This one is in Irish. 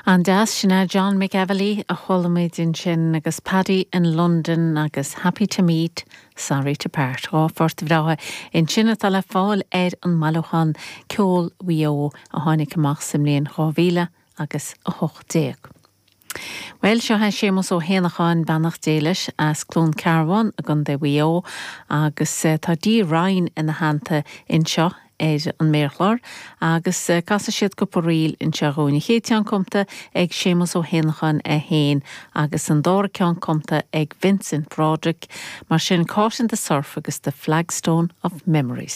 An-deas, sin é John McEvilly a chuala muid ansin agus Paddy in London agus Happy to Meet, Sorry to Part. 2 phort bhreátha ansin atá le fáil ar an mbailiúchán Ceol Mhaigh Eo a tháinig amach sa mbliain 2018. Bhuel, seo é Séamus Ó hÉanacháin, beannacht Dé leis, as Cluain Cearbán i gContae Mhaigh Eo agus tá Dee Ryan ina theannta anseo ar an méarchlár agus casfaidh siad cúpla ríl anseo dhúinn. An chéad cheann cumtha ag Séamus Ó hÉanacháin é féin agus an dara ceann cumtha ag Vincent Broderick, mar sin Caught in the Surf agus The Flagstone of Memories.